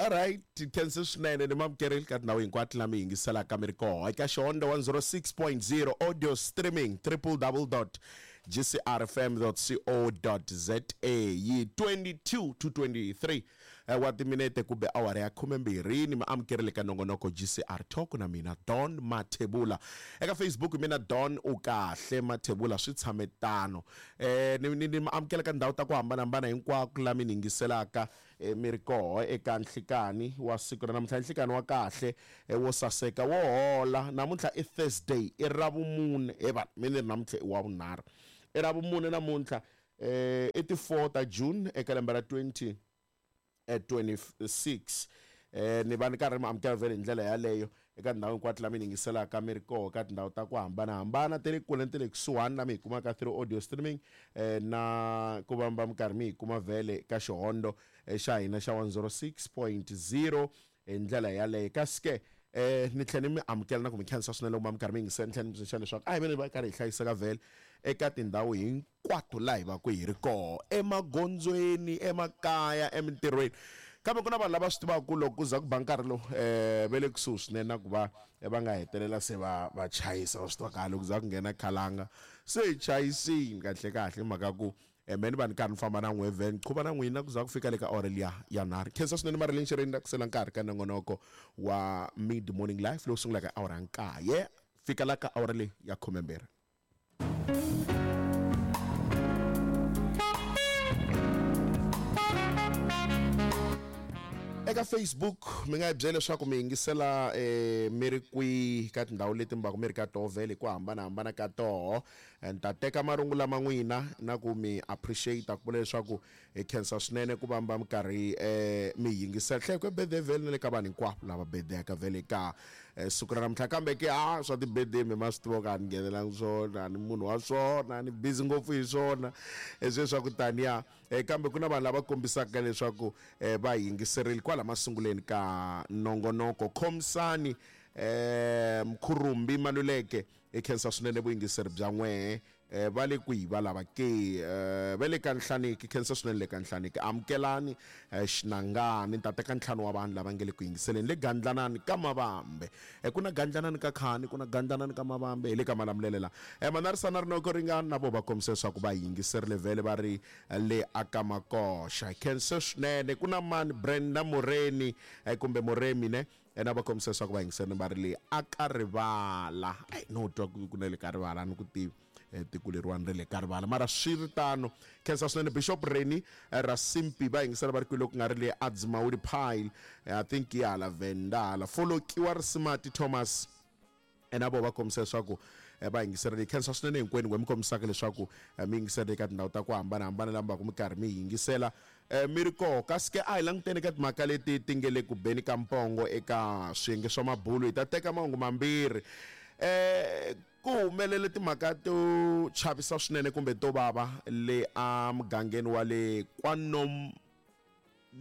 Alright, khensa swinene ni mamukereli ka tindhawu hinkwato la mi yingiselaka mi ri koho eka Xihondzo 106.0 audio streaming www.gcrfm.co.za yi 22 to 23 wa timinete kumbe awara ya khumembirhi ni mi amukerile ka nongonoko GCR Talk na mina Don Mathebula eka Facebook mina Don u kahle Mathebula swi tshame tano ni mi amukela ka ndhawu ta ku hambanahambana hinkwako la mi ni yingiselaka mi ri koho eka nhlikani wa siku ra namuntlha nhlikani wa kahle wo saseka wo hola namuntlha i Thursday i ravumune he vanhu mi ni ri namuntlha i wa vunharhu i ravumune namuntlha i ti 4 ta June eka lembe ra 20 26 ni va ni karhi mi amukela vhele hi ndlela yaleyo eka tindhawu hinkwato la mi yingiselaka mi ri koho ka tindhawu ta ku hambanahambana ta le kule ni ta le kusuhani la mi hi kumaka through audio streaming na ku va mi karhi mi hi kuma vhele ka xihondo xa hina xa 106.0 hi ndlela yaleyo kasi ke ni tlhela ni mi amukela na ku mi khensa swinene loko ma mi karhi mi yingisela ni tlhela ni mi tsundzuxa leswaku a hi veni va karhi hi hlayiseka vhele eka tindhawu hinkwato laha hi va ku hi ri koho emagondzweni emakaya emintirhweni kambe ku na vanhu lava swi tivaka ku loko ku za ku ba nkarhi lowu va le kusuhi swinene na ku va va nga hetelela se va va chayisa va swi tiva kahle ku za ku nghena khalanga se hi chayisini kahle kahle hi mhaka ku me ni va ni karhi ni famba na n'we vhen qhuva na n'wina ku za ku fika le ka awara liya ya nharhu khensa swinene Marilyn Xereni la ku sela nkarhi ka nongonoko wa mid morning life lowu sungulaka hi awara ya nkaye fika la ka awara leyi ya khumembirhi. Eka Facebook mi nga hi byela leswaku mi yingisela mi ri kwihi ka tindhawu leti mi va ku mi ri ka toho vhele hi ku hambanahambana ka toho. Ni ta teka marungula ma n'wina na ku mi appreciate ku vula leswaku hi khensa swinene ku va mi va mi karhi mi hi yingisela. Hlaya ku birthday vhele na le ka vanhu hinkwavo lava birthday-aka vhele ka siku ra namuntlha kambe ke a swa ti-birthday mi ma swi tiva ku a ni nghenelangi swona a ni munhu wa swona ni busy ngopfu hi swona sweswi swa ku taniya. Kambe ku na vanhu lava kombisaka leswaku va yingiserile kwala masunguleni ka nongonoko. Khomisani Mkhurumbi Maluleke, hi khensa swinene vuyingiseri bya n'wehe. Va le kwihi va lava ke? Va le ka Nhlaniki, khensa swinene le ka Nhlaniki. Amukelani Xinangani, ni ta teka ntlhanu wa vanhu lava nge le ku yingiseleni le Gandlanani ka Mavambe. Ku na Gandlanani ka Khani, ku na Gandlanani ka Mavambe, hi le ka Malamulele la. Manarisana Rinoko Ringani na vo va kombise leswaku va yingiserile vhele va ri le aka Makoxa. Hi khense swinene. Ku na mani Brenda Moreni kumbe Moremi ne? Na va kombise leswaku va yingiserile va ri le aka Rivala. Ai no twa ku na le ka Rivala a ni ku tivi. Tiko leriwani ra le ka Rivala. Mara swi ri tano, khensa swinene Bishop Reni Rasimpi va yingisela va ri kwihi loko ku nga ri le Adzimawuli Pile, I think yi hala Venda hala. Folokiwa Risimati Thomas na vo va kombisa leswaku va yingiserile. Hi khensa swinene hinkwenu n'we mi kombisaka leswaku mi yingiserile eka tindhawu ta ku hambanahambana laha mi va ku mi karhi mi yingisela mi ri koho. Kasi ke a hi languteni eka timhaka leti ti nge le ku beni ka mpongo eka swiyenge swa mabulu. Hi ta teka mahungu mambirhi. Ku humelele timhaka to chavisa swinene kumbe to vava le emugangeni wa le kwaNom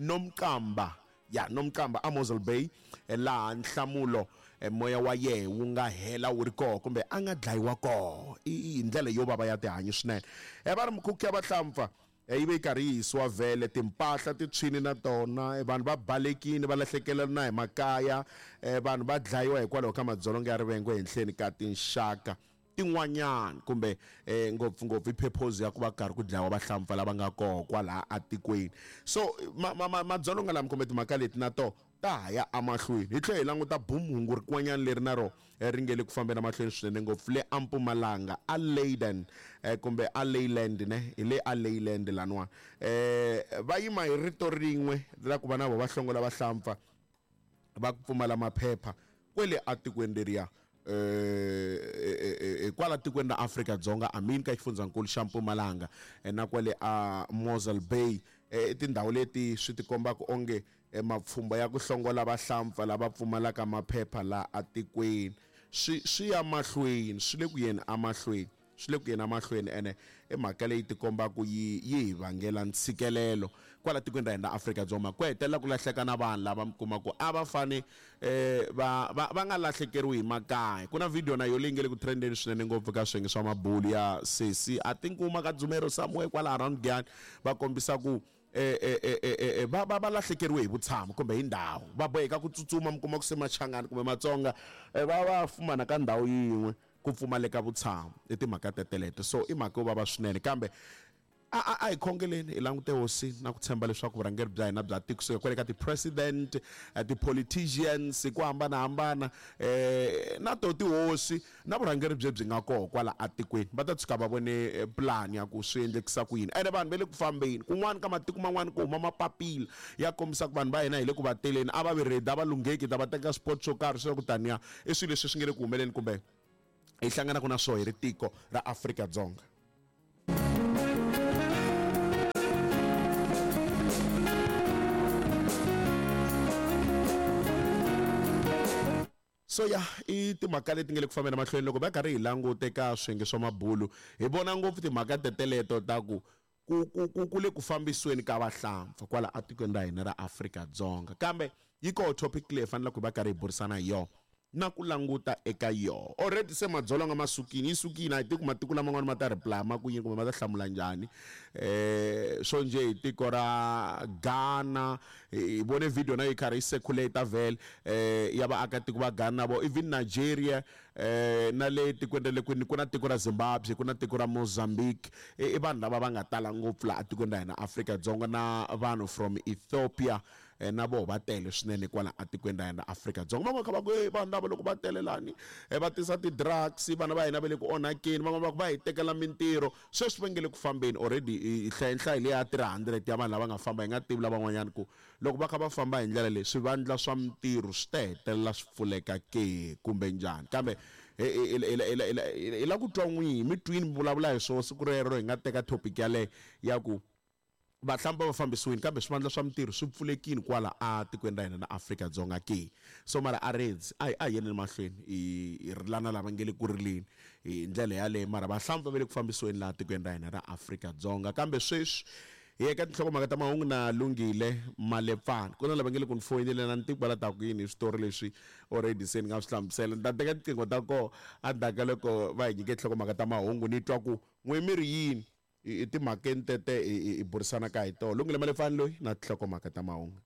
Nomqamba ya Nomqamba a Mosel Bay laha nhlamulo moya wa yehe wu nga hela wu ri koho kumbe a nga dlayiwa koho hi ndlela yo vava ya tihanyi swinene. Va ri mikhukhu ya vahlampfa yi ve yi karhi yi hisiwa vhele, timpahla ti tshwini na tona, vanhu va balekile va lahlekela na hi makaya, vanhu va dlayiwa hikwalaho ka madzolonga ya rivengo ehenhleni ka tinxaka tin'wanyana kumbe ngopfungopfu i purpose ya ku va karhi ku dlayiwa vahlampfa lava nga koho kwalaha atikweni. So madzolonga lama kumbe timhaka leti na toho ta ha ya emahlweni. Hi tlhela hi languta boom hungu rin'wanyana leri na rona ri nge le ku fambeni emahlweni swinene ngopfu le eMpumalanga a Leyden kumbe a Leyland ne hi le a Leyland laniwani va yima hi rito rin'we ra ku va na vona va hlongola vahlampfa va ku pfumala maphepha kwele atikweni leriya kwala tikweni ra Afrika-Dzonga I mean ka xifundzankulu xa Mpumalanga na kwale a Mosel Bay i tindhawu leti swi tikombaka onge mapfhumba ya ku hlongola vahlampfa lava pfumalaka maphepha la atikweni swi swi ya mahlweni swi le ku yeni emahlweni swi le ku yeni emahlweni ene i mhaka leyi tikombaka yi yi hi vangela ntshikelelo kwala tikweni ra hina ra Afrika-Dzonga ku hetelela ku lahleka na vanhu lava mi kuma ku a va fane va va va nga lahlekeriwi hi makaya ku na video na yo leyi nge le ku trendeni swinene ngopfu ka swiyenge swa mabulu ya sesi I think uma ka Dzumero somewhere kwala around Giyani va kombisa ku. va lahlekeriwe hi vutshamo kumbe hi ndhawu, va boheka ku tsutsuma. Mi kuma ku se Machangani kumbe Matsonga va fumana ka ndhawu yin'we, ku pfumaleka vutshamo. I timhaka teteleto, so i mhaka yo vava swinene, kambe a hi khongeleni, hi langute hosi na ku tshemba leswaku vurhangeri bya hina bya tiko, kusuka kwale ka ti-president, ti-politicians hi ku hambanahambana, na to tihosi na vurhangeri byi nga koho kwala atikweni, va ta tshuka va vone plan ya ku swi endlekisa ku yini. Ene vanhu va le ku fambeni kun'wana ka matiko man'wana, ku huma mapapila ya kombisa ku vanhu va hina hi le ku va teleni, a va vi ready, a va lungheki, ta va teka sport swo karhi swa ku taniya. I swilo leswi swi nge le ku humeleni kumbe hi hlanganaka na swoho hi ri tiko ra Afrika-Dzonga. So ya, i timhaka leti nga le ku fambeni mahlweni. Loko va karhi hi langute ka swiyenge swa mabulu, hi vona ngopfu timhaka teteleto ta ku ku ku ku ku le ku fambisiweni ka vahlampfa kwala atikweni ra hina ra Afrika-Dzonga. Kambe yi koho topic leyi hi faneleke hi va karhi hi burisana hi yona na ku languta eka yoho. Already se madzolonga ma sukile, yi sukile. A hi tivi ku matiko laman'wana ma ta reply ma ku yini kumbe ma ta hlamula njhani. Swo njhe hi tiko ra Ghana, hi vone video na yi karhi yi circulate vhele, ya vaakatiko va Ghana vo, even Nigeria, na le tikweni ra le kwini, ku na tiko ra Zimbabwe, ku na tiko ra Mozambique. I vanhu lava va nga tala ngopfu laha atikweni ra hina Afrika-Dzonga, na vanhu from Ethiopia na voho va tele swinene kwala atikweni ra hina Afrika-Dzonga. Van'wana kha va ku, "Hey, vanhu lava loko va tele lani, va tisa ti-drugs, vana va hina va le ku onhakeni." Van'wana va ku va hi tekela mintirho. Sweswi va nge le ku fambeni already, hi hlaya nhlayo leyi ya 300 ya vanhu lava nga famba. Hi nga tivi lavan'wanyana ku loko va kha va famba hi ndlela leyi, swivandla swa mintirho swi ta hetelela swi pfuleka ke kumbe njhani. Kambe hi la ku twa n'wihi, mi twini mi vulavula hi swona siku rero hi nga teka topic yaleyo ya ku vahlampfa va fambisiwile, kambe swivandla swa mintirho swi pfulekile kwala a tikweni ra hina na Afrika-Dzonga ke. So mara a reds a hi yeneni mahlweni hi rilana lava nge le ku rileni hi ndlela yaleyo, mara vahlampfa va le ku fambisiweni laha tikweni ra hina ra Afrika-Dzonga. Kambe sweswi hi ya eka tinhlokomhaka ta mahungu na Lungile Malepfana. Ku na lava nge le ku ni foyineleni, a ni tivi ku va la ta ku yini hi switori leswi already se ni nga swi hlamusela. Ni ta teka tiqingho ta koho endzhaku ka loko va hi nyike tinhlokomhaka ta mahungu, ni twa ku n'we mi ri yini i timhakeni tete hi burisanaka hi toho. Lungile Malefani loyi na tinhlokomhaka ta mahungu.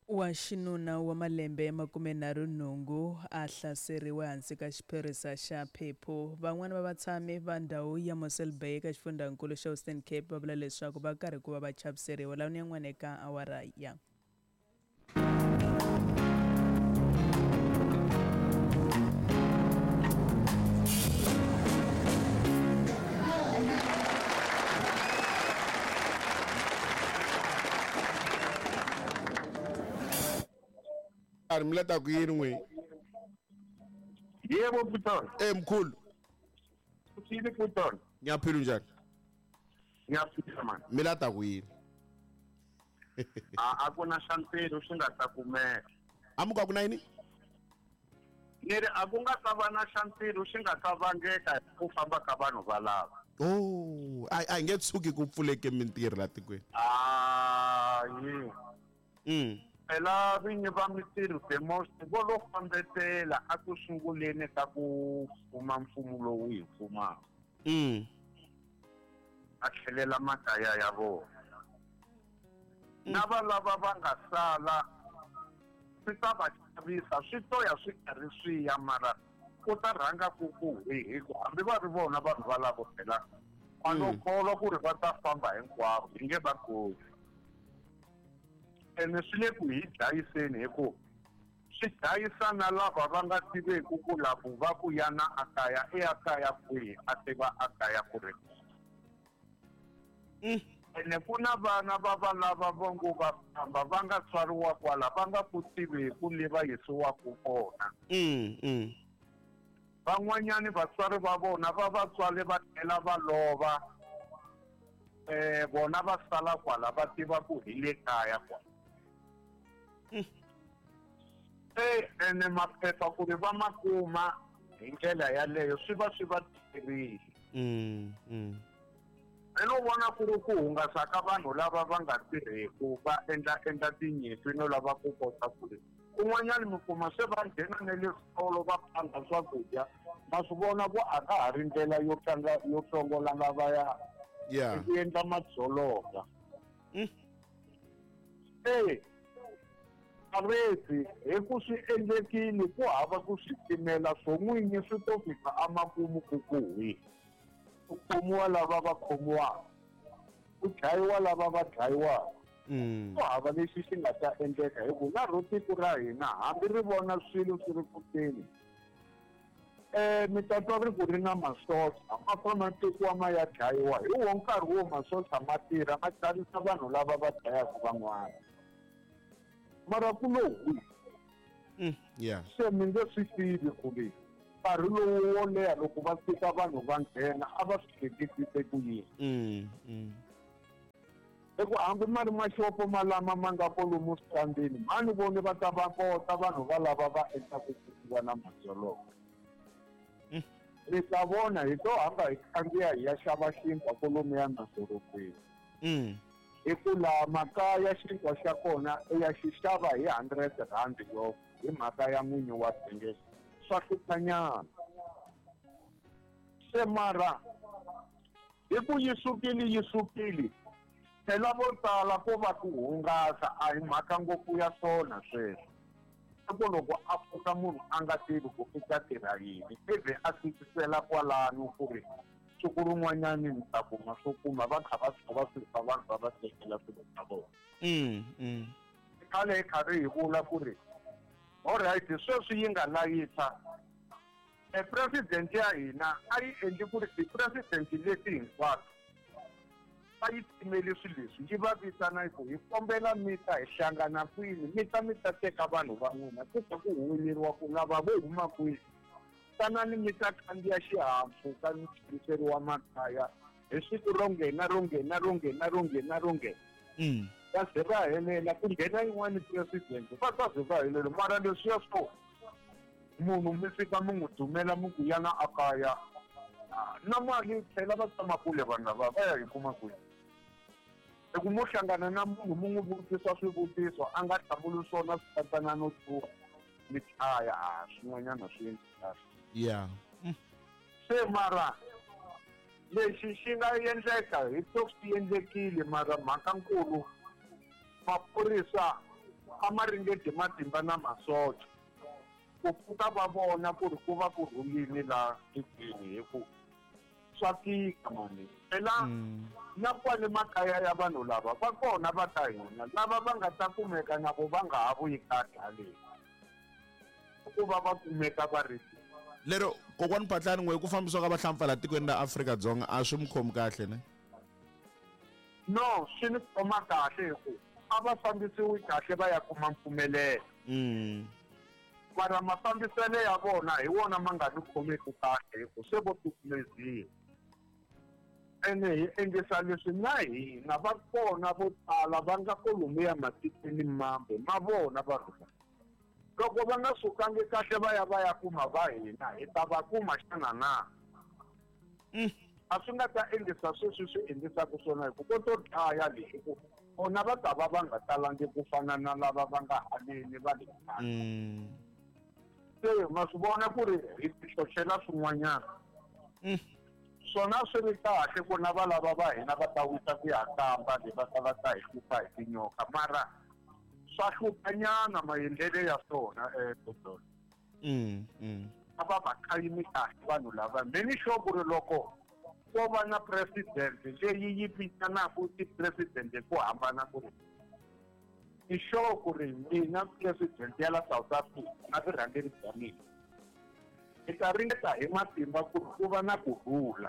Wa xinuna wa malembe ya 38 a hlaseriwe hansi ka xiphorisa xa phephu. Van'wana va vatshami va ndhawu ya Mossel Bay eka xifundzankulu xa Western Cape va vula leswaku va karhi ku va va chaviseriwa. Lawuni yan'wana eka awara ya A ri mi la ta ku yini n'wi? Yebo, Puton. Eh, mkhulu. Uthini, Puton? Ngiyaphila, unjani? Ngiyaphila, man. Mi la ta ku yini? A ku na xa ntirho swi nga ta kumeka. A mu ka ku na yini? Ni ri a ku nga ta va na xa ntirho xi nga ta vangeka hi ku famba ka vanhu valava. Oh, a hi nge tshuki ku pfuleke mintirho la tikweni. Hayi. Phela vinyi va mintirho the most vo lo fambetela a ku sunguleni ka ku fuma mfumo lowu hi fumaka. A tlhelela makaya ya vona. Na va lava va nga sala swi ta va chavisa, swi to ya swi karhi swi ya, mara ku ta rhanga ku ku hi ku hambi va ri vona vanhu valavo phela a no kholwa ku ri va ta famba hinkwavo, hi nge va koti. Ene swi le ku hi dlayiseni, hi ku swi dlayisa na lava va nga tiveku ku lavo va ku yana a kaya i ya kaya kwihi, a tiva a kaya ku ri. Ene ku na vana va va lava va ngo va famba va nga tswariwa kwala, va nga ku tiveku le va yisiwaka kona. Van'wanyani vatswari va vona va va tswale va tlhela va lova, vona va sala kwala va tiva ku hi le kaya kwala. Ene maphepha ku ri va ma kuma hi ndlela yaleyo swi va swi va tikerile. Ni lo vona ku ri ku hungasa ka vanhu lava va nga tirheku, va endla endla tinyimpi no lava ku kota ku ri kun'wanyana mi kuma se va nghena na le switolo va phanga swakudya. Ma swi vona ku a ka ha ri ndlela yo tlanga yo hlongola lavaya, ku endla madzolonga. E aresi hi ku swi endlekile ku hava ku swi timela swo n'winyi swi to fika emakumu ku ku hwi ku khomiwa lava va khomiwaka ku dlayiwa lava va dlayiwaka. Ku hava lexi xi nga ta endleka hi ku na ro tiko ra hina hambi ri vona swilo swi ri kuteni mi ta twa ri ku ri na masocha ma famba ma tekiwa ma ya dlayiwa hi wo nkarhi wo masocha ma tirha ma chavisa vanhu lava va dlayaka van'wana mara ku lo hwi. Se mi nge swi tivi ku ri nkarhi lowu wo leha loko va fika vanhu va nghena a va swi hleketise ku yini. I ku hambi ma ri maxopo malama ma nga kolomu switandini mani voni va ta va kota vanhu va lava va endlaku ku va na madzolonga. Mi ta vona hi to hamba hi khandziya hi ya xava xinkwa kolomu ya madorobeni. Hi ku laha makaya xinkwa xa kona u ya xi xava hi 100 rand yo hi mhaka ya n'winyi wa vhengele swa hluphanyana. Se mara hi ku yi sukile yi sukile phela vo tala ko va ku hungasa a hi mhaka ngopfu ya swona sweswo. I ku loko a pfuka munhu a nga tivi ku i ta tirha yini ivi a tikisela kwalano ku ri siku rin'wanyani ni ta kuma swo kuma va kha va tshova swilo swa vanhu va va tekela swilo swa vona. Khale hi karhi hi vula ku ri alright sweswi yi nga layisa e president ya hina a yi endli ku ri ti-president leti hinkwato a yi timeli swilo leswi yi va vitana ku hi kombela mi ta hi hlangana kwini mi ta mi ta teka vanhu va n'wina ku ta ku huweleriwa ku lava vo huma kwini tanani mi ta khandziya xihahampfhuka mi tlheriseriwa makaya hi siku ro nghena ro nghena ro nghena ro nghena ro nghena. Va ze va helela ku nghena yin'wani president va ta ze va helela mara leswiya swo munhu mi fika mi n'wi dumela mi ku yana a kaya na mali tlhela va tshama kule vanhu lava va ya hi kuma kwihi. I ku mo hlangana na munhu mi n'wi vutisa swivutiso a nga hlamuli swona swi katsana no tluka mi dlaya a swin'wanyana swi endli kahle. Se mara lexi xi nga endleka hi to swi endlekile mara mhaka nkulu maphorisa a ma ringeti matimba na masocha ku pfuka va vona ku ri ku va ku rhulile laha tikweni hi ku swa tika mani phela na kwale makaya ya vanhu lava va kona va ta hina lava va nga ta kumeka na vo va nga ha vuyi kahle haleni ku va va kumeka va ri lero kokwani Phatlani n'we ku fambisiwa ka vahlampfa laha tikweni ra Afrika-Dzonga a swi mi khomi kahle ne? No, swi ni khoma kahle hi ku a va fambisiwi kahle va ya kuma mpfumelelo. Mara mafambiselo ya vona hi wona ma nga ni khomeki kahle hi ku se vo tukumeziwa. Ene hi endlisa leswi na hina va kona vo tala va nga kolomuya matikweni mambe ma vona va rhula. Loko va nga sukangi kahle va ya va ya kuma va hina hi ta va kuma xana na? A swi nga ta endlisa sweswi swi endlisaka swona hi ku ko to dlaya leswi ku vona va ta va va nga talangi ku fana na lava va nga haleni va le kaya. Se ma swi vona ku ri hi tihlohlela swin'wanyana. Swona swi ri kahle ku na va lava va hina va ta wisa ku ya kamba le va ta va ta hi hlupha hi tinyoka mara swa hluphanyana maendlelo ya swona Dodolo. A va va khayimi kahle vanhu lava me ni sure ku ri loko ko va na president leyi yi vitanaka ti-president hi ku hambana ku ri ni sure ku ri mina president ya la South Africa na vurhangeri bya mina hi ta ringeta hi matimba ku ri ku va na kurhula.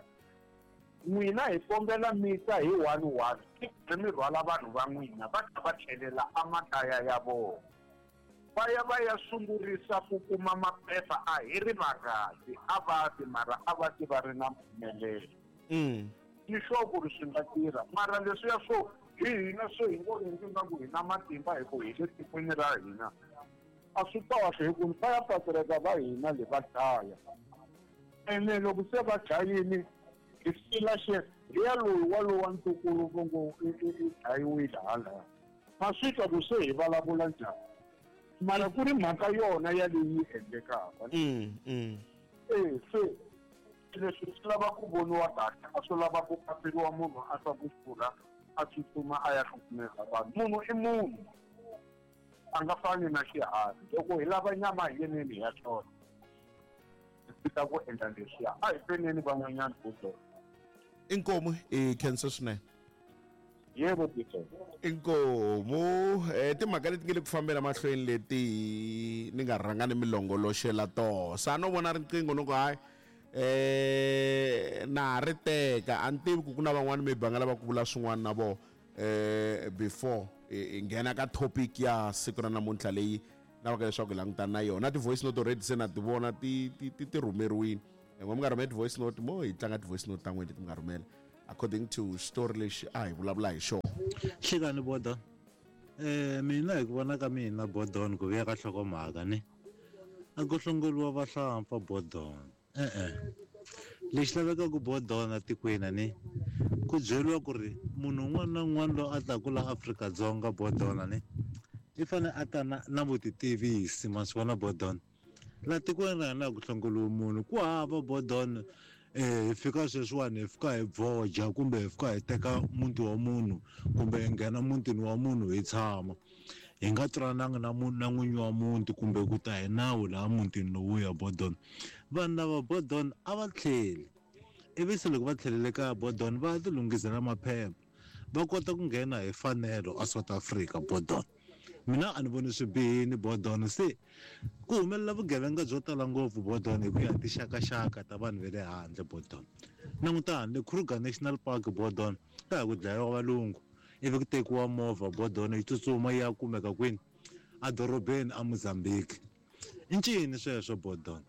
N'wina hi kombela mi ta hi 1-1 ri mi rhwala vanhu va n'wina va ta va tlhelela emakaya ya vona va ya va ya sungurisa ku kuma maphepha a hi ri vangaki a va ti mara a va ti va ri na mpfumelelo. Ni sure ku ri swi nga tirha mara leswiya swo hi hina swo hi ngo endli nga ku hi na matimba hi ku hi le tikweni ra hina a swi kahle hi ku va ya patireka va hina le va dlaya ene loko se va dlayini hi fila xe riya loyi wa lowa ntukulu vo ngo i dlayiwile halaya ma swi twa ku se hi vulavula njhani mara ku ri mhaka yona yaleyi yi endlekaka. Se leswi swi lava ku voniwa kahle a swi lava ku kamberiwa munhu a twa ku xurha A tsutsuma a ya hlukumeza vanhu. Munhu i munhu, a nga fani na xiharhi. Loko hi lava nyama hi yeneni hi ya hlota, hi tshika ku endla leswiya. A hi feneni van'wanyana Budo. Inkomu i khensa swinene. Yebo Budo. Inkomu timhaka leti nge le ku fambela mahlweni leti ni nga rhanga ni mi longoloxela toho. Sa no vona riqingho no ku hayi na ha ri teka a ni tivi ku ku na van'wani maybe va nga lava ku vula swin'wana na vona before hi nghena ka topic ya siku ra namuntlha leyi lavaka leswaku hi langutana na yona. Ti-voice note already se na ti vona ti ti ti ti rhumeriwile. N'we mi nga rhumela ti-voice note mo hi tlanga ti-voice note ta n'wina leti mi nga rhumela according to story lexi a hi vulavula hi xona. Hlekani Bodon. Mina hi ku vona ka mina Bodon ku vuya ka nhlokomhaka ni a ku hlongoriwa vahlampfa Bodon. E-e. Lexi lavekaka Bodon etikweni ni ku byeriwa ku ri munhu un'wana na un'wana loyi a taku la Afrika-Dzonga Bodon ni i fane a ta na na vutitivisi ma swi vona Bodon. La tikweni ra hina a ku hlongoriwi munhu ku hava Bodon hi fika sweswiwani hi fika hi voja kumbe hi fika hi teka muti wa munhu kumbe hi nghena mutini wa munhu hi tshama hi nga twanananga na munhu na n'winyi wa muti kumbe ku ta hi nawu laha mutini lowuya Bodon. Vanhu lava Bodon a va tlheli ivi se loko va tlhelele kaya Bodon va ya ti lunghisela maphepha va kota ku nghena hi fanelo a South Africa Bodon. Mina a ni voni swi bihini Bodon se ku humelela vugevenga byo tala ngopfu Bodon hi ku ya hi tinxakaxaka ta vanhu va le handle Bodon. Langutani le Kruger National Park Bodon ka ha ku dlayiwa valungu ivi ku tekiwa movha Bodon yi tsutsuma yi ya kumeka kwini edorobeni a Mozambique. I ncini sweswo Bodon?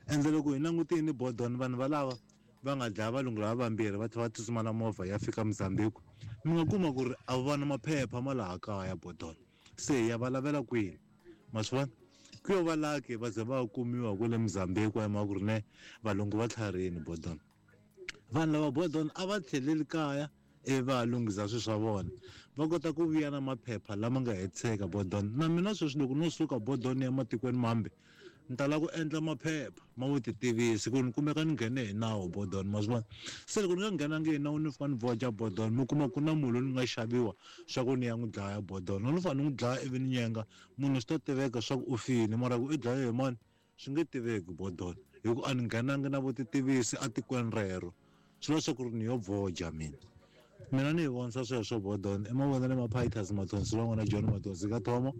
Ende loko hi langutini Bodon vanhu valava va nga dlaya valungu lava vambirhi va tlhela va tsutsuma na movha ya fika Mozambique mi nga kuma ku ri a va na maphepha ma laha kaya Bodon se hi ya va lavela kwini ma swi vona ku yo va lucky va ze va kumiwa kwale Mozambique hi mhaka ku ri ne valungu va tlharihini Bodon. Vanhu lava Bodon a va tlheleli kaya ivi va ya lunghisa swilo swa vona va kota ku vuya na maphepha lama nga hetiseka Bodon. Na mina sweswi loko no suka Bodon ni ya matikweni mambe ni ta lava ku endla maphepha ma vutitivisi ku ni kumeka ni nghene hi nawu Bodon ma swi vona. Se loko ni nga nghenangi hi nawu ni fika ni voja Bodon mi kuma ku na munhu loyi ni nga xaviwa swa ku ni ya n'wi dlaya Bodon loko ni fane ni n'wi dlaya ivi ni nyenga munhu swi ta tiveka swa ku u file mara ku i dlaye hi mani swi nge tiveki Bodon hi ku a ni nghenangi na vutitivisi etikweni rero swi vula swa ku ri ni yo voja mina. Mina ni yi vonisa sweswo Bodon i mavonelo ma Pitus Mathonsi wa n'wana John Mathonsi ka Thomo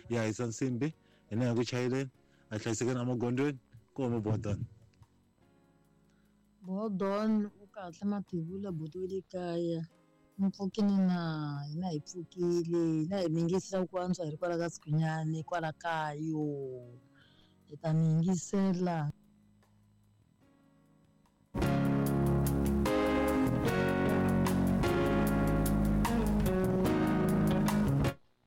ya hisa nsimbi hina hi ku chayeleni a hlayisekeni emagondzweni ku huma Bodon. Bodon u kahle Mathebula buti wa le kaya mi pfukile na hina hi pfukile hina hi mi yingisela ku antswa hi ri kwala ka Sikhunyani kwala kayo hi ta mi yingisela.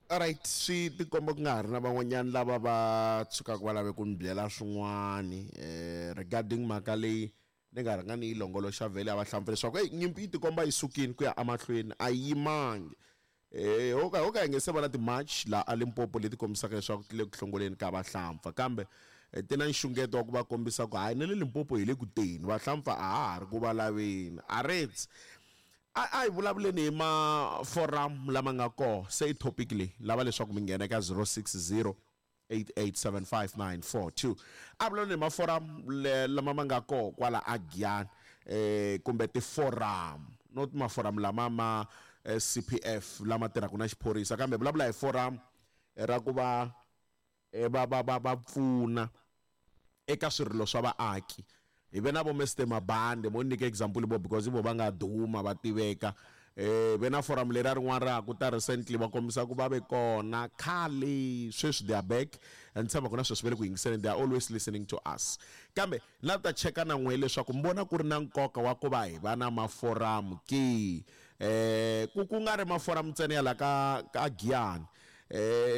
Alright swi tikomba ku nga ha ri na van'wanyana lava va tshukaka va lave ku ni byela swin'wani regarding mhaka leyi ni nga rhanga ni yi longoloxa vhele ya vahlampfa leswaku eyi nyimpi yi tikomba yi sukile ku ya emahlweni a yi yimangi ho ka ho ka hi nge se va na ti-march laha a Limpopo leti kombisaka leswaku ti le ku hlongoleni ka vahlampfa kambe ti na nxungeto wa ku va kombisa ku hayi na le Limpopo hi le ku teni vahlampfa a ha ha ri ku va laveni aretse a a hi vulavuleni hi ma-forum lama nga kona se i topic leyi lava leswaku mi nghena eka 060 8875942 a vulavuleni hi ma-forum lama ma nga kona kwala a Giyani kumbe ti-forum not ma-forum lama ma CPF lama tirhaka na xiphorisa kambe vulavula hi forum ra ku va va va va va pfuna eka swirilo swa vaaki hi ve na vo Mr Mabande mo nyika example vo because vo va nga duma va tiveka ve na forum leri rin'wana ra ku ta recently va kombisa ku va ve kona khale sweswi they are back and tshemba ku na sweswi va le ku yingiseleni they are always listening to us kambe na ta cheka na n'we leswaku mi vona ku ri na nkoka wa ku va hi va na maforamu ke ku ku nga ri maforamu ntsena ya la ka ka Giyani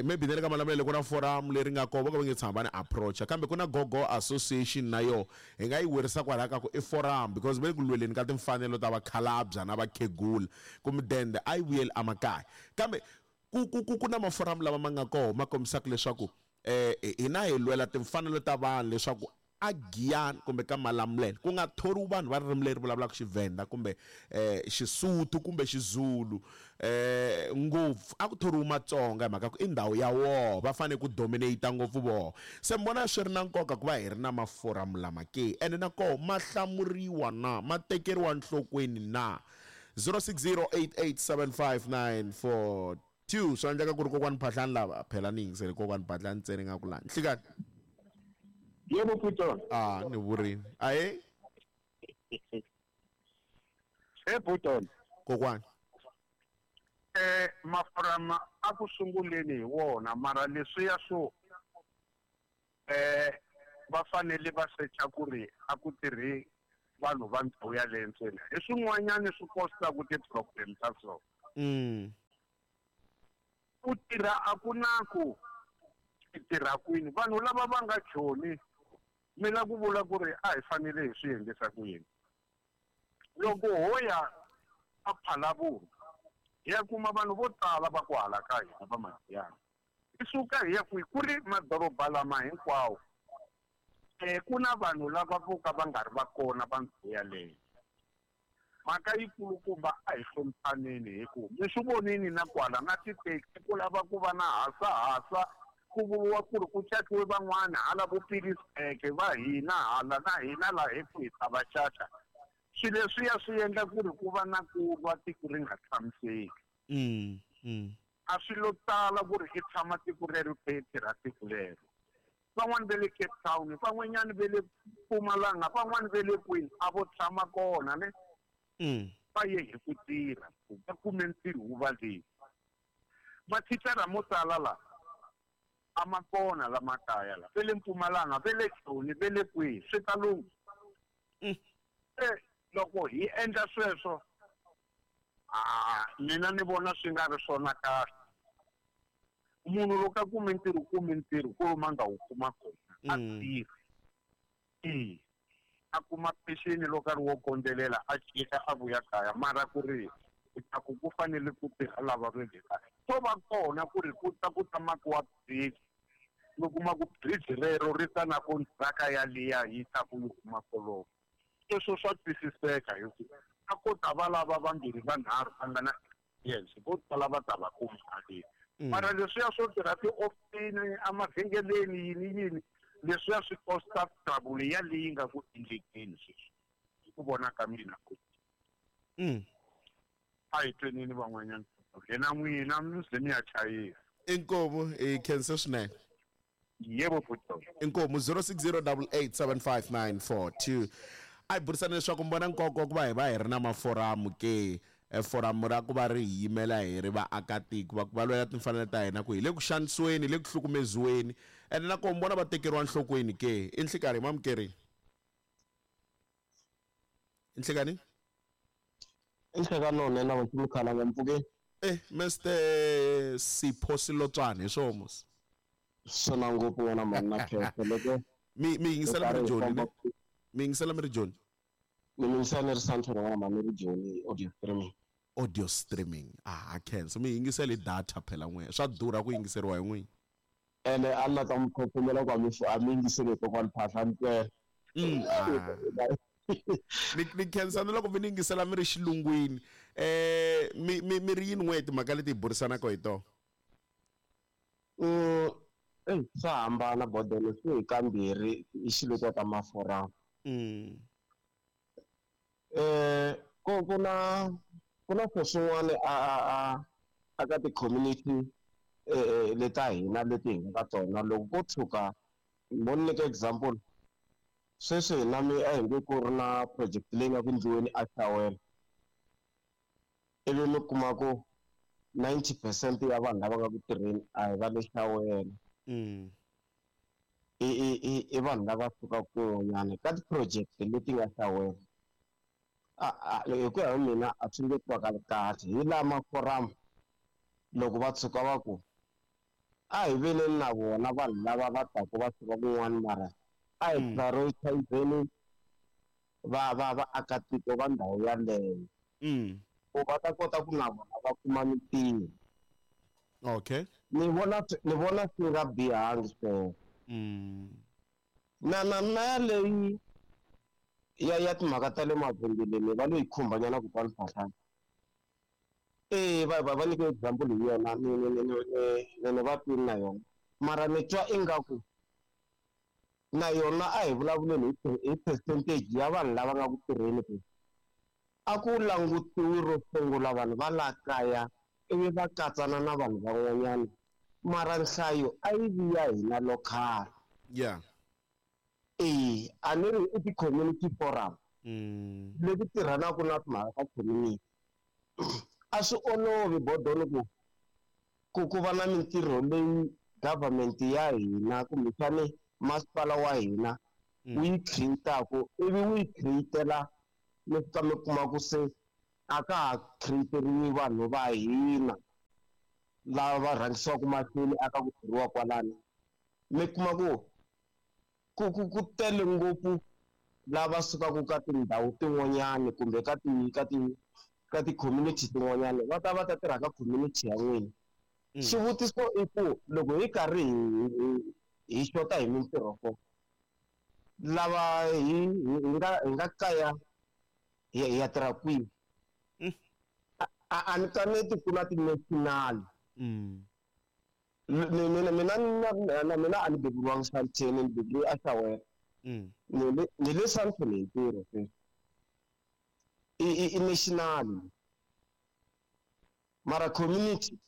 maybe na le ka Malamulele ku na forum leri nga kona vo ka va nge tshama va ni approach kambe ku na gogo association na yo hi nga yi werisa kwalaya ka ku i forum because va le ku lweleni ka timfanelo ta vakhalabya na vakhegula ku mudende a yi vuyeli emakaya kambe ku ku ku ku na maforamu lama ma nga kona ma kombisaka leswaku hina hi lwela timfanelo ta vanhu leswaku. A Giyani kumbe ka Malamulele ku nga thoriwi vanhu va ririmi leri vulavulaka Xivhenda kumbe um Xisuthu kumbe Xizulu um ngopfu a ku thoriwi Matsonga hi mhaka ku i ndhawu ya woho va fanele ku dominate ngopfu voho se mi vona swi ri na nkoka ku va hi ri na maforamu lama ke ene na koho ma hlamuriwa na ma tekeriwa nhlokweni na 0608875942 swa endleka ku ri kokwani Phahlani lava phela ni yingisele kokwani Phahlani ntsena nga ku lani nhlikani Yebo Puton. Ah, ni vurini. Ahe? He Puton. Kokwani. Eh mafurama a ku sunguleni hi wona mara leswiya swo eh va fanele va secha ku ri a ku tirhi vanhu va ndhawu yaleyo ntsena hi swin'wanyana swi kostaku ti-problem ta so Ku tirha a ku na ku i tirha kwini. Vanhu lava va nga Joni mi la ku vula ku ri a hi fanele hi swi endlisa ku yini? Loko ho ya a Phalaborwa hi ya kuma vanhu vo tala va ku hala ka hina va Magiyani. Hi suka hi ya kwihi? Ku ri madoroba lama hinkwawo ku na vanhu lava vo ka va nga ri va kona va ndhawu yaleyo. Mhaka yikulukumba a hi hloniphaneni hi ku mi swi vonini na kwala na titaxi ku lava ku va na hasahasa ku vuriwa ku ri ku caciwe van'wana hala vo Pilisbeke va hina hala na hina laha hi ku hi ta va caca. Swilo leswiya swi endla ku ri ku va na ku lwa tiko ri nga tshamiseki. A swi lo tala ku ri i tshama tiko rero i kha i tirha tiko lero. Van'wani ve le Cape Town, van'wanyani ve le Mpumalanga, van'wani ve le kwini, a vo tshama kona ne. Va ye hi ku tirha, va kume ntirho wu va le. Mathicara mo tala la a ma kona la makaya la, ve le Mpumalanga, ve le Joni, ve le kwihi, swi ta lungha. Se loko hi endla sweswo, a mina ni vona swi nga ri swona kahle. Munhu loko a kume ntirho u kume ntirho ku lomu a nga wu kuma kona a tirhi. E a kuma peceni loko a ri wo kondzelela a jika a vuya kaya mara ku ri u ta ku ku fanele ku tirha lava va le kaya swo va kona ku ri ku ta ku ta makiwa bridge mi kuma ku bridge rero ri ta na kontraka yaliya yi ta ku yi huma kolomo. Sweswo swa twisiseka hi ku a ko ta va lava vambirhi vanharhu va nga na experience vo tala va ta va kuma haleni. Mara leswiya swo tirha tiofisini emavhengeleni yini yini leswiya swi costa trouble ya leyi nga ku endlekeni sweswi hi ku vona ka mina ku a hi twenini van'wanyana yena n'wina mi ze mi ya chayisa. Inkomu hi khense swinene. Yebo Puto. Inkomu 0608875942 a hi burisana leswaku mi vona nkoka wa ku va hi va hi ri na maforamu ke e foramu ra ku va ri hi yimela hi ri vaakatiko va ku va lwela timfanelo ta hina ku hi le ku xanisiweni hi le ku hlukumeziweni ene na koho mi vona va tekeriwa nhlokweni ke i nhlikarhi hi mamukerini i nhlikani I nhlekani lowunene wa Mkhalanga mpfukeni. Eh Mr Sipho Silotswana hi swoho mos. Swona ngopfu n'wana mhani na khensa loko Mi mi yingisela mi ri hi Joni famba ne? Mi yingisela mi ri Joni? Ni mi yingisela ni ri Sandton n'wana mhani ni ri Joni audio streaming. Audio streaming. Ah khensa mi yingisela hi data phela n'we. Swa durha ku yingiseriwa hi n'wina. Ene a ni la ta mi khokhomela ku a mi a mi yingiseli hi kokwani Phahla ni twela. Ah. Ni ni khensa na loko mi ni yingisela mi ri xilungwini. Eh mi mi mi ri yini n'we timhaka leti hi burisanaka hi tona? Eyi swa hambana bodolo swi hi kambirhi i xilo ka maforamu. Ku ku na ku na swilo swin'wana a a a a ka ti-community leta hina leti hi nga ka tona loko ko tshuka mo ni nyika example sweswi hina mi a hi nge ku ri na project leyi nga ku endliweni a Shawela ivi mi kuma ku 90% ya vanhu lava nga ku tirheni a hi va le Shawela. I i i i vanhu lava sukaka kun'wanyana ka ti-project leti nga Shawela. A hi ku ya hi mina a swi nge twakali kahle hi laha maforamu loko va tshuka va ku a hi veleni na vona vanhu lava va taku va suka kun'wana mara a hi prioritizeni va va vaakatiko va ndhawu yaleyo. Ku va ta kota ku na vona va kuma mintirho. Okay. Ni vona ni vona swi nga bihangi sweswo. Na na na yaleyi ya ya timhaka ta le mavhengeleni va lo yi khumbanyana kokwani Phahlane. E va va va nyike example hi yona ni ni ni ni ni ni va twini na yona mara ni twa ingaku na yona a hi vulavuleni hi hi percentage ya vanhu lava nga ku tirheni ku a ku langutiwi ro sungula vanhu va la kaya ivi va katsana na vanhu van'wanyana mara nhlayo a yi vi ya hina local. Yeah. E a ni ri i ti-community forum leti tirhanaka na timhaka ta community. A swi olovi bodoni ku ku ku va na mintirho leyi government ya hina kumbexani masipala wa hina wu yi create-aku ivi wu yi create-ela mi fika mi kuma ku se a ka ha create-eriwi vanhu va hina lava va rhangisiwaka mahlweni aka ku tirhiwa kwalano. Mi kuma ku ku ku ku tele ngopfu lava sukaka ka tindhawu tin'wanyani kumbe ka ti ka ti ka ti-community tin'wanyani va ta va ta tirha ka community ya n'wina. Xivutiso i ku loko hi karhi hi hi xota hi mintirho ko lava hi hi nga hi nga kaya hi ya tirha kwihi? A a ni kaneti ku na ti-national. Mina mina na mina a ni beburiwangi Sandton, ni beburiwe eSoweto. Ni le ni le Sandton hi ntirho sweswi. I i i national mara community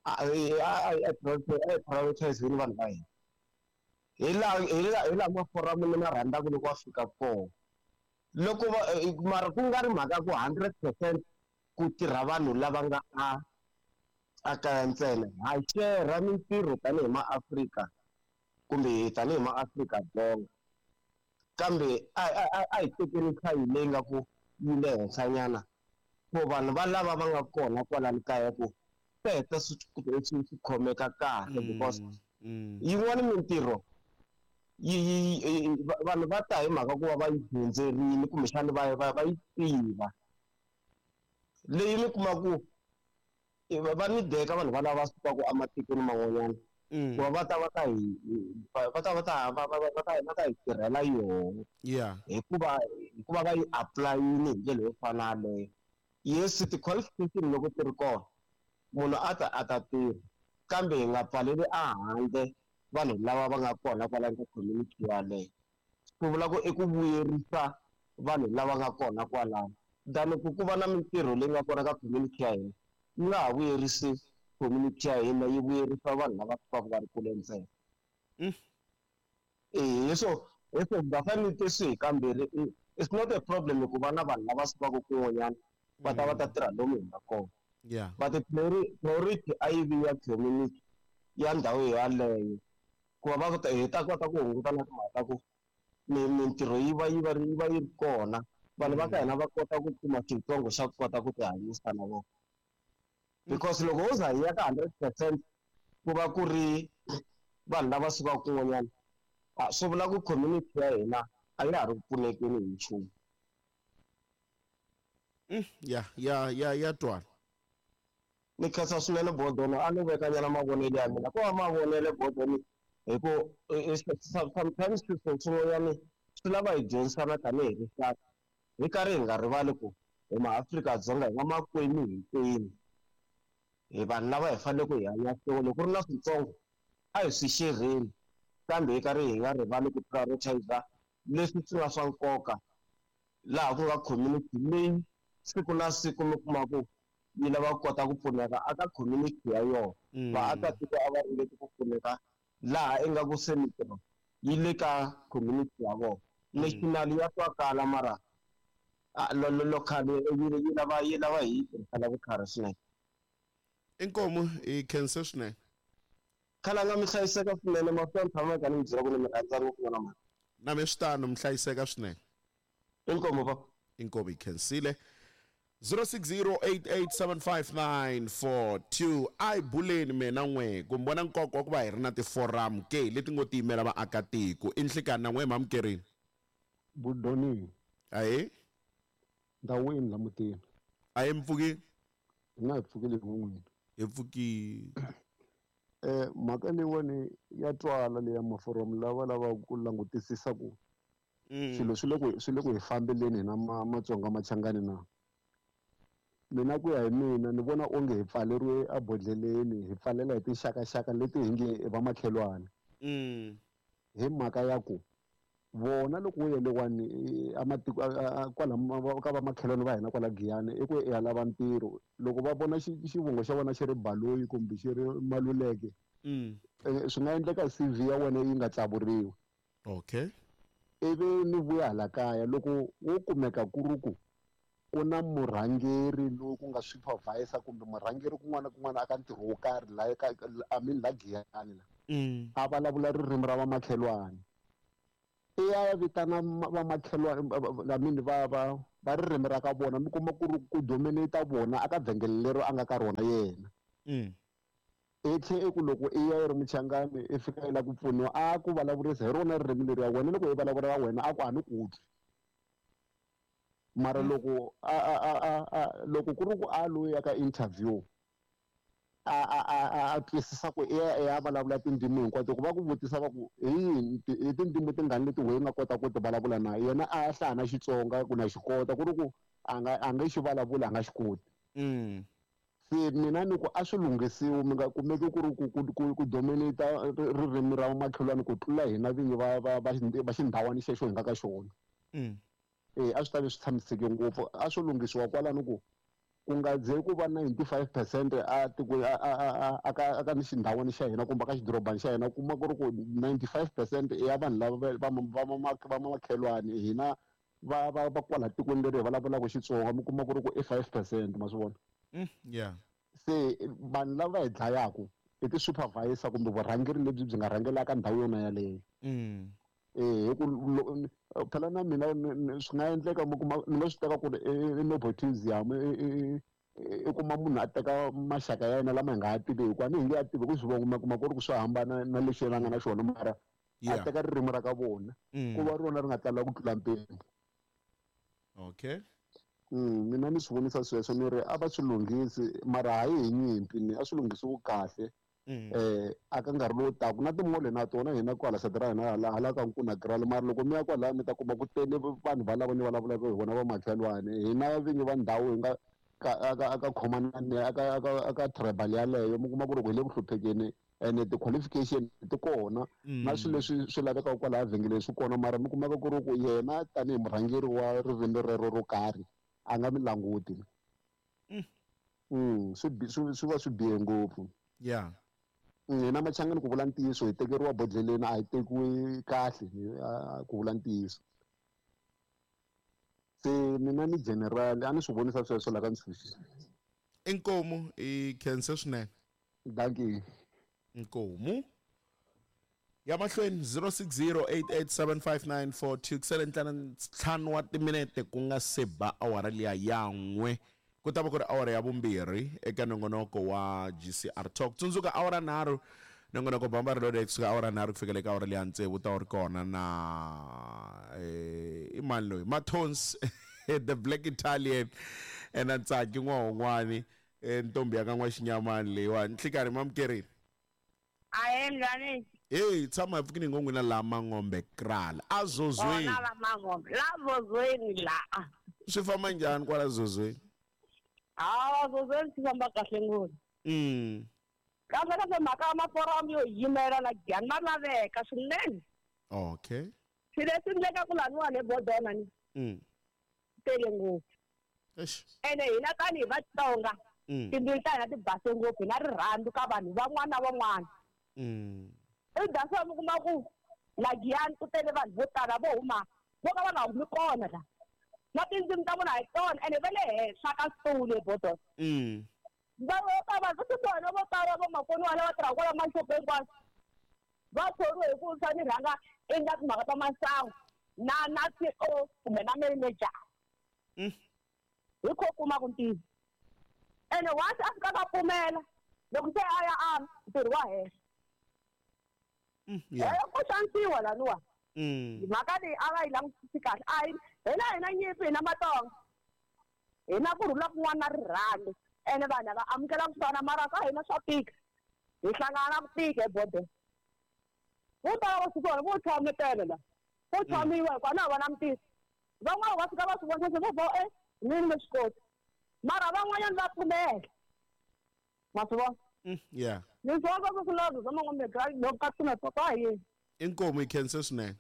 a a a a prioritize-ni vanhu va hina. Hi laha hi laha hi laha maforamu ni ma rhandzaka loko wa fika kona. Loko va mara ku nga ri mhaka ya ku 100% ku tirha vanhu lava nga a a kaya ntsena. Ha share mintirho tanihi maAfrika kumbe tanihi maAfrika-Dzonga kambe a a a hi tekeni nhlayo leyi nga ku yi le henhlanyana for vanhu va lava va nga kona kwalani kaya ku swi heta swi swi swi khomeka kahle because yin'wani mintirho yi yi vanhu va ta hi mhaka ku va va yi dyondzerile kumbexana va va va yi tiva. Leyi mi kuma ku va ni deka vanhu va lava sukaka ematikweni man'wanyana ku va va ta va ta hi va ta va ta va va va ta va ta hi tirhela yona. Hikuva hikuva va yi apply-ini hi ndlela yo fana na yaleyo. Yes ti-qualification loko ti ri kona munhu a ta a ta tirha kambe hi nga pfaleli ehandle vanhu lava va nga kona kwalano ka community yaleyo. Swi vula ku i ku vuyerisa vanhu lava nga kona kwalano than ku ku va na mintirho leyi nga kona ka community ya hina yi nga ha vuyerisi community ya hina yi vuyerisa vanhu lava sukaka va ri kule ntsena. E so hi swo va fanele swi hi kambirhi it's not a problem ku va na vanhu lava sukaka kun'wanyana va ta va ta tirha lomu hi nga kona. But priority a yi vi ya community ya ndhawu yaleyo ku va va hi ta kota ku hunguta na timhaka ta ku mintirho yi va yi va yi va yi ri kona vanhu va ka hina va kota ku kuma xitsongo xa ku kota ku tihanyisa na vona. Because loko ho za hi ya ka 100% ku va ku ri vanhu lava sukaka kun'wanyana swi vula ku community ya hina a ya ha ri ku pfunekeni hi nchumu. Ya ya ya ya twala. Ni khensa swinene Bodoni a ni vekanyana mavonelo ya mina ko va mavonelo Bodoni hi ku sometimes swilo swin'wanyana swi lava hi dyondzisana tanihi rixaka hi karhi hi nga rivali ku hi maAfrika-Dzonga hi vamakwenu hinkwenu. Hi vanhu lava hi faneleke hi hanya swin'we loko ku ri na switsongo a hi swi xerheni kambe hi karhi hi nga rivali ku prioritize leswi swi nga swa nkoka laha ku nga community leyi siku na siku mi kuma ku yi lava ku kota ku pfuneka aka community ya yona. Vaakatiko a va ringeti ku pfuneka laha ingaku se mintirho yi le ka community ya vona. National ya twakala mara local yi lava yi lava hi yi tirhisela vutlhari swinene. Inkomu hi khense swinene. Khalanga mi hlayiseka swinene masiku ya mi tshama ka ni mi byela ku ni mi rhandza ngopfu n'wana mhani. Na mi swi tano mi hlayiseka swinene. Inkomu papa. Inkomu hi khensile. 0608875942 a hi buleni mina n'we ku mi vona nkoka wa ku va hi ri na tiforamu ke leti ngo tiyimela vaakatiko i nhlikani na n'we mamukerini. Budoni. Ahee. Ndhawini la mutini. Ahee mpfukini. Hina hi pfukile hi n'wina. Hi pfukile. Mhaka leyiwani ya twala leya maforomo lava lavaka ku langutisisa ku swilo swi le ku hi fambeleni hina Matsonga Machangani na. Mina ku ya hi mina ni vona onge hi pfaleriwe ebodhleleni, hi pfalela hi tinxakaxaka leti hi nge i vamakhelwani. Hi mhaka ya ku vona loko wo yelewani amatiko kwala ka vamakhelwani va hina kwala Giyani i ku i ya lava ntirho, loko va vona xivongo xa wena xi ri Baloyi kumbe xi ri Maluleke, swi nga endleka CV ya wena yi nga tsavuriwi. Ivi ni vuya hala kaya, loko wo kumeka ku ri ku ku na murhangeri loyi ku nga supervisor kumbe murhangeri kun'wana na kun'wana aka ntirho wo karhi la ka, I mean, la Giyani la, a vulavula ririmi ra vamakhelwani, i ya vitana vamakhelwani, I mean, va ririmi ra ka vona, mi kuma ku ri ku dominate vona aka vhengele leri a nga ka rona yena. I tlhe i ku loko i ya i ri Muchangani, i fika i lava ku pfuniwa, a ku vulavurisa hi rona ririmi leri ya wena, loko i vulavula wena a ku a ni ku twi. Mara loko a a a a a loko ku ri ku a loyi ya ka interview a twisisa ku i ya i ya vulavula tindzimi hinkwato, ku va ku vutisa va ku hi yihi hi tindzimi tingani leti wehe u nga kota ku ti vulavula, na yena a hlaya na Xitsonga ku na xi kota, ku ri ku a nga xi vulavula, a nga xi koti. Se mina ni ku a swi lunghisiwi, mi nga kumeki ku ri ku dominate ririmi ra makhelwani ku tlula hina vinyi va xindhawani xexo hi nga ka xona. A swi ta ve swi tshamiseke ngopfu, a swo lunghisiwa kwalano ku nga ze ku va 95% a tikweni a ka ni xindhawani xa hina kumbe ka xidorobani xa hina, kuma ku ri ku 95% ya vanhu lava va makhelwani hina va kwala tikweni leri hi vulavulaka Xitsonga, mi kuma ku ri ku i 5%, ma swi vona? Yeah. Se vanhu lava hi dlayaku i ti-supervisor kumbe vurhangeri lebyi byi nga rhangelaka ndhawu yona yaleyo. Hi ku phela na mina swi nga endleka mi kuma ni nga swi teka ku ri i nepotism, i kuma munhu a teka maxaka ya yena lama hi nga ha tiveki, a ni hi nge a tivi ku swivongo, ma kuma ku ri ku swi hambana na leswi yena a nga na xona, mara a teka ririmi ra ka vona ku va rona ri nga tala ku tlula mpimo. Mina ni swi vonisa sweswo, ni ri a va swi lunghisi, mara hayi hi nyimpi, ni a swi lunghisiwi kahle. A ka nkarhi lowu taka na timall na tona hina kwala side ra hina hala ka Nkuna Kraal, mara loko mi ya kwalaya mi ta kuma ku tele vanhu valavo ni vulavulaka hi vona vamakhelwani, hina vinyi va ndhawu hi nga ka aka khomanani aka tribal yaleyo, mi kuma ku ri ku hi le ku hluphekeni, ene ti-qualification ti kona na swilo leswi swi lavekaka kwalaya vhengeleni swi kona, mara mi kumeka ku ri ku yena tanihi murhangeri wa ririmi rero ro karhi a nga mi languti. Swi va swi bihe ngopfu. Hina Machangani, ku vula ntiyiso, hi tekeriwa bodleleni, a hi tekiwi kahle, ku vula ntiyiso. Se mina ni general a ni swi vonisa sweswo la ka Ntshunxi. Inkomu, i khense swinene. Dankie. Inkomu ya mahlweni, 0608875942. Kusele 5 wa timinete ku nga se ba awara liya ya 1, ku ta va ku ri awara ya vumbirhi eka nongonoko wa GCR Talk. Tsundzuka, awara 3, nongonoko Bamba Reloaded, kusuka awara 3 ku fikela eka awara liya 6, ta wu ri kona na i mani loyi, Mathons the Black Italian, na Ntsaki n'wahon'wani, ntombi ya ka N'waxinyamani leyiwani. Nhlikani, mamukerini. Ahe, mngani. Hey, tshama hi pfukini ngo n'wina la Mangombe Kraal azozweni. Kona la Mangombe. La Zozweni la. Swi famba njhani kwala Zozweni? Hawa, Zozweni swi famba kahle ngopfu. Kahle kahle, mhaka ya maforamu yo yimela la Giyani ma laveka swinene. Swilo leswi endlekaku laniwani ebodona ni tele ngopfu. Eish. Ene hina tanihi Vatsonga, timbilu ta hina ti base ngopfu, hi na rirhandzu ka vanhu van'wana na van'wana. I that's mi kuma ku la Giyani ku tele vanhu vo tala vo huma vo ka va nga humi kona la. Na tindzimi ta vona hi tona, ene va le henhla ka switulu ebodona. Va vo ta vanhu va vona vo tala vo makoniwa lava tirhaka kwala maxopeni hinkwaswo va thoriwe hi ku swa ni rhanga endla timhaka ta masangu na CEO kumbe na manager. Hi kho kuma ku ntiyiso, ene once a fika va pfumela, loko se a ya a ntirho wa hehla. Ku xanisiwa laniwa. Mhaka leyi a va yi langutisi kahle, a hi hina nyimpi, hina Matsonga hina ku rhula kun'wana na rirhandzu, ene vanhu va amukela ku fana, mara ka hina swa tika. Hi hlangana na ku tika ebodeni. Vo tala va swi vona vo tshametela la. Vo tshamiwa hikuva na vona mutisi. Van'wana va fika va swi vona se vo vo e mina ni swi koti. Mara van'wanyana va pfumela. Ma swi vona? Yeah. Ni swi vona swa swilaveko swa man'wambe loko ka swi papa hi. Inkomu yi khense swinene.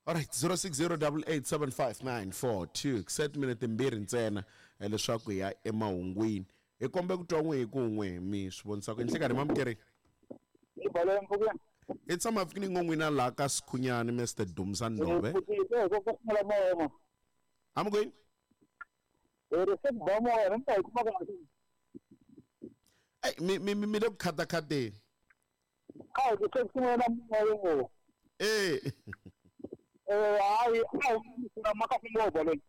Alright, 0608875942 set minute timbirhi ntsena leswaku hi ya emahungwini. Hi kombe ku twa n'we hi kun'we mi swi vonisa ku nhlikani mamukerini. Hi tshama fikini ngo n'wina laha ka Sikhunyani Mr Dumisa Ndove. Amukwini? Ey mi mi mi le ku khatakhateni. Eh. Hayi a maka ngopfu leyi.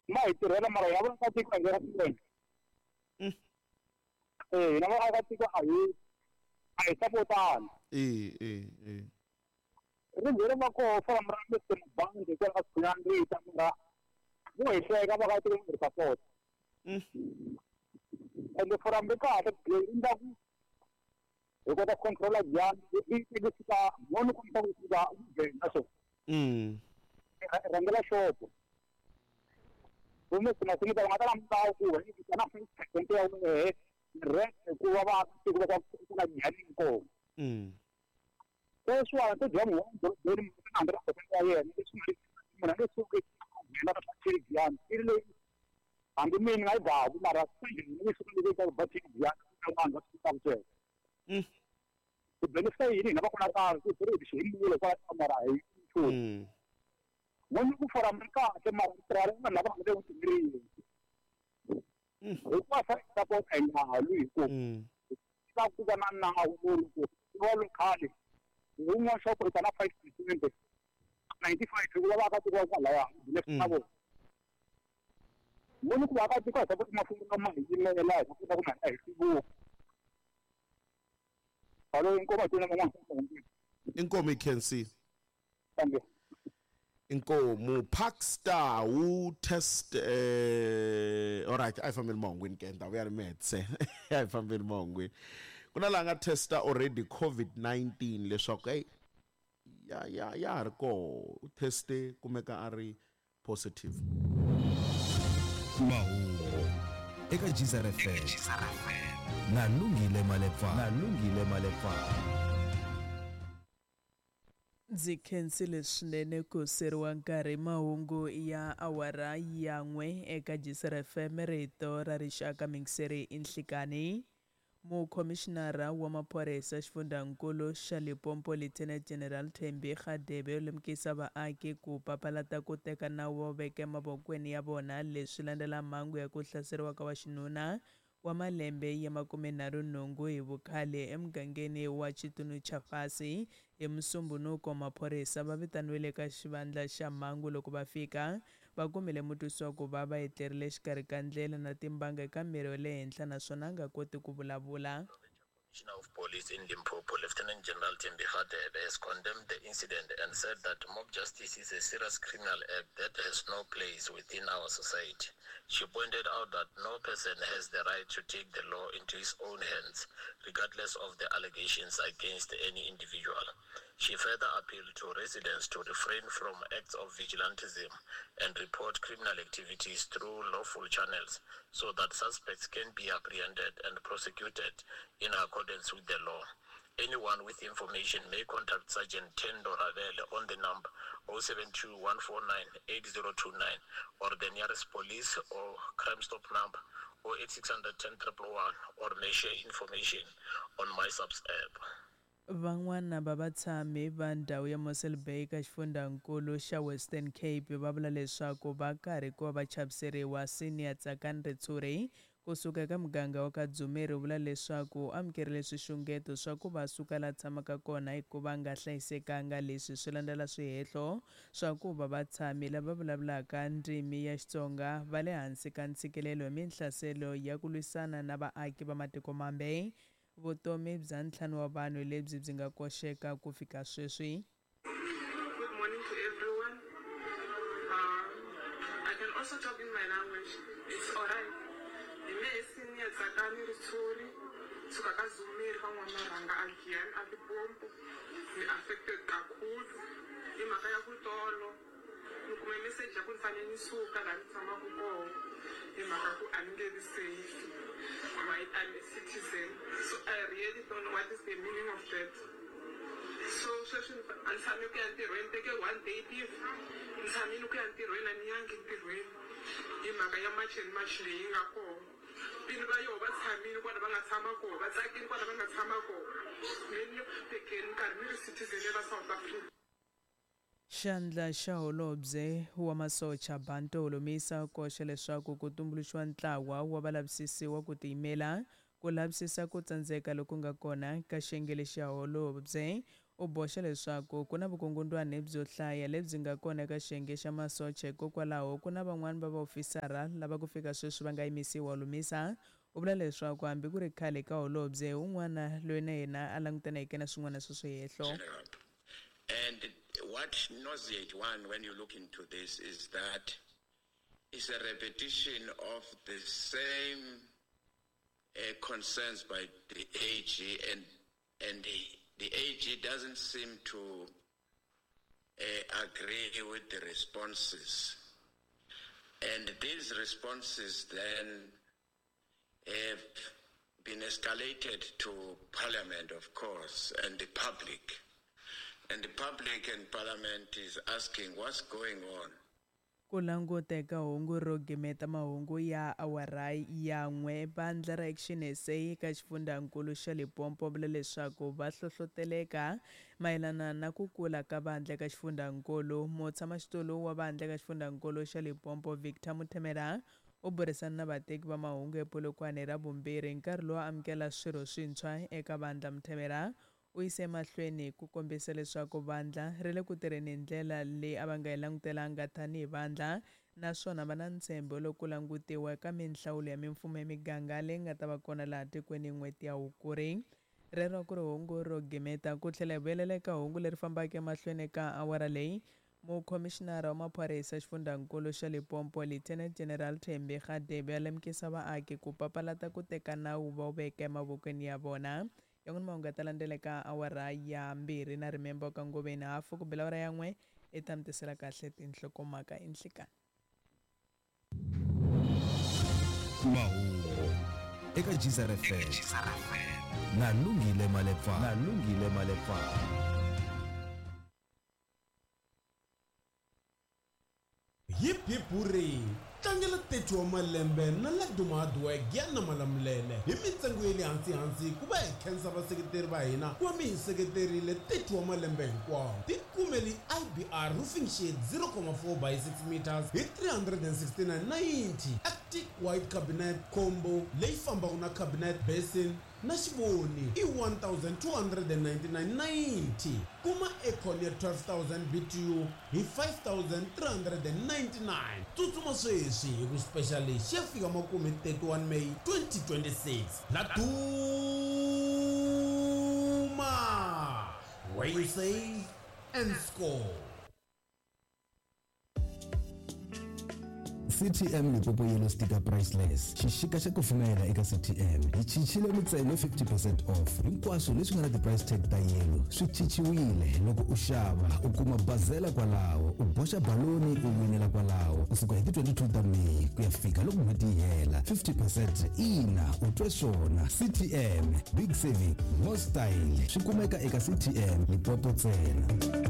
Ma hi tirhela mara ya vona tiko a hi swinene. Eh, na va tiko a hi sapotani. Eh. Rindzele va koho famba ra Mr. Mabandi kwala ka Sikhunyani ri ta mara vo hi hleka va ka tiko ri support. Ende forum ri kahle ri endla ku hi kota ku controla Giyani yi fika moni ku ta ku fika na swona. Rhangela xopo. Kumbe sima va nga ta la milawu ku hi na 5% ya wehe rent hikuva va tiko va ku na Giyani kona. Sweswiwani to dya muholo dorobeni na 100% ya yena leswi munhu a nge suki a nghena ka Giyani i ri leyi hambi mina nga yi baku mara ni suka ni ka ba Giyani vanhu va swi kota ku sweswo. Ku benefita yini hina va kona karhi ku ri xi himule kwala mara hi nchumu. N'wini ku forum ri kahle mara ri tirha vanhu lava nga le vutimerini. Hikuva fa support a hi nga lwi hi ku ta ku va na nawu lowu ku va lo khale wun'wana xopo ri ta na 5% 95 hikuva va ka tiko va kwalaya na vona. N'wini ku va ka tiko hi support mafumo lama hi yimela hi kota ku na hi hluvuka. Hello, inkomo tena mama. Inkomo ikhensi. Thank you. Inkomo Parkstar wu test all right, a hi fambeni mahungwini ke ndhawu ya ri metse. A hi fambeni mahungwini. Ku na laha nga testa already COVID-19 leswaku hey ya ya ha ri koho u teste kumeka a ri positive. Mahungu eka Geyser FM. Na Lungile Malepa. Ndzi khensile swinene ku seriwa nkarhi mahungu ya awara ya 1 eka Geyser FM rito ra rixaka mingiseri inhlikani. Mukhomishinara wa maphorisa xifundzankulu xa Limpopo Lieutenant General Thembi Radebe u lemukisa vaaki ku papalata ku teka nawu va veka emavokweni ya vona leswi landzela mhangu ya ku hlaseriwa ka waxinuna wa malembe ya 38 hi vukhale emugangeni wa Chitunu-Chafasi. Hi Musumbhunuko maphorisa va vitaniwile ka xivandla xa mhangu loko va fika va kumile mutwisiwa ku va va etlerile exikarhi ka ndlela na timbanga eka miri wa le henhla naswona a nga koti ku vulavula. Commissioner of Police in Limpopo, Lieutenant General Thembi Radebe, has condemned the incident and said that mob justice is a serious criminal act that has no place within our society. She pointed out that no person has the right to take the law into his own hands, regardless of the allegations against any individual. She further appealed to residents to refrain from acts of vigilantism and report criminal activities through lawful channels so that suspects can be apprehended and prosecuted in accordance with the law. Anyone with information may contact Sergeant Tendo Ravel on the number 072 149 8029 or the nearest police or Crime Stop number 08600 10 111 or may share information on MySAPS app. Van'wana va vatshami va ndhawu ya Mossel Bay ka xifundzankulu xa Western Cape va vula leswaku va karhi ku va va chaviseriwa. Senior Tsakani Ritshuri kusuka eka muganga wa ka Dzumeri u vula leswaku u amukerile swixungeto swa ku va suka la tshamaka kona hikuva nga hlayisekanga. Leswi swi landzela swihehlo swa ku va vatshami lava vulavulaka ndzimi ya Xitsonga va le hansi ka ntshikelelo hi minhlaselo ya ku lwisana na vaaki va matiko mambe. Vutomi bya ntlhanu wa vanhu lebyi byi nga koxeka ku fika sweswi. Good morning to everyone. I can also talk in my language. It's all right. Suka ka Zumeri ka N'wamarhanga again a Limpopo. Ni affected kakhulu hi mhaka ya ku tolo ni kume message ya ku ni fanele ni suka laha ni tshamaka kona hi mhaka ku a ni nge vi safe. Right, I'm a citizen, so I really don't know what is the meaning of that. So sweswi a ni tshami ku ya ntirhweni, teke one day leave, ni tshamile ku ya ntirhweni, a ni yangi ntirhweni hi mhaka ya March and March leyi nga kona. Vini va yoho va tshamile kwala va nga tshama kona, va tsakile kwala va nga tshama kona, me ni le ku hluphekeni ni karhi ni ri citizen ya la South Africa. Xandla xa Holobye wa Masocha Bantu Holomisa u koxe leswaku ku tumbuluxiwa ntlawa wa valavisisi wa ku tiyimela ku lavisisa ku tsandzeka loku nga kona ka xiyenge lexi xa holobye. U boxa leswaku ku na vukungundwani byo hlaya lebyi nga kona eka xiyenge xa masocha hikokwalaho ku na van'wana va vaofisara lava ku fika sweswi va nga yimisiwa. Holomisa u vula leswaku hambi ku ri khale ka holobye un'wana loyi na yena a langutaneke na swin'wana swa swihehlo. And what nauseates one when you look into this is that it's a repetition of the same concerns by the AG, and the AG doesn't seem to agree with the responses. And these responses then have been escalated to Parliament, of course, and the public. And the public and Parliament is asking what's going on. Ku languteka hungu ro gimeta mahungu ya awara ya n'we, vandla ra Action SA eka xifundzankulu xa Limpopo vula leswaku va hlohloteleka mayelana na ku kula ka vandla eka xifundzankulu. Mutshamaxitulu wa vandla eka xifundzankulu xa Limpopo Victor Muthemela u burisana na vateki va mahungu ePolokwane ra vumbirhi nkarhi lowu amukela swirho swintshwa eka vandla. Muthemela u yise emahlweni ku kombisa leswaku vandla ri le ku tirheni hi ndlela leyi a va nga yi langutelanga tanihi vandla, naswona va na ntshembo loko ku langutiwa eka minhlawulo ya mimfumo ya miganga leyi nga ta va kona laha tikweni n'hweti ya Hukuri. Rero ku ri hungu ro gimeta ku tlhela hi vuyelela eka hungu leri fambaka emahlweni eka awara leyi. Mukhomixinara wa maphorisa xifundzankulu xa Limpopo Lieutenant General Thembi Radebe a lemukisa vaaki ku papalata ku teka nawu va wu veka emavokweni ya vona. Yan'wana mahungu ya ta landzela eka awara ya 2 na rimembo ka ngoveni hafu ku bela awara ya 1 i ta mi tisela kahle tinhlokomhaka enhlikani. Mahungu eka Geyser FM na Lungile Malepa. Na Lungile Malepa. Hip hip hooray! Tlangela 30 wa malembe na Laduma Hardware Giyani na Malamulele hi mintsengo ya le hansi hansi ku va hi khensa vaseketeri va hina ku va mi hi seketerile 30 wa malembe hinkwawo. Tikumeli IBR Roofing Sheet 0.4 by 6 meters hi 369.90, Arctic White Cabinet Combo leyi fambaka na cabinet basin na xivoni i 1299.90. Kuma aircon ya 12000 BTU hi 5399. Tsutsuma sweswi hi ku special lexi ya fika makumu hi 31 May 2026. Laduma, where you save and score. CTM Limpopo Yellow Sticker Priceless. Xixika xa kufumela eka CTM. Hi cincile mintsengo 50% off. Hinkwaswo leswi nga na ti-price tag ta yellow swi cinciwile. Loko u xava u kuma bazela kwalaho, u boxa baloni u winela kwalaho. Kusuka hi ti-22 ta May ku ya fika loko n'hweti yi hela. 50% ina u twe swona. CTM Big Saving More Style swi kumeka eka CTM Limpopo ntsena.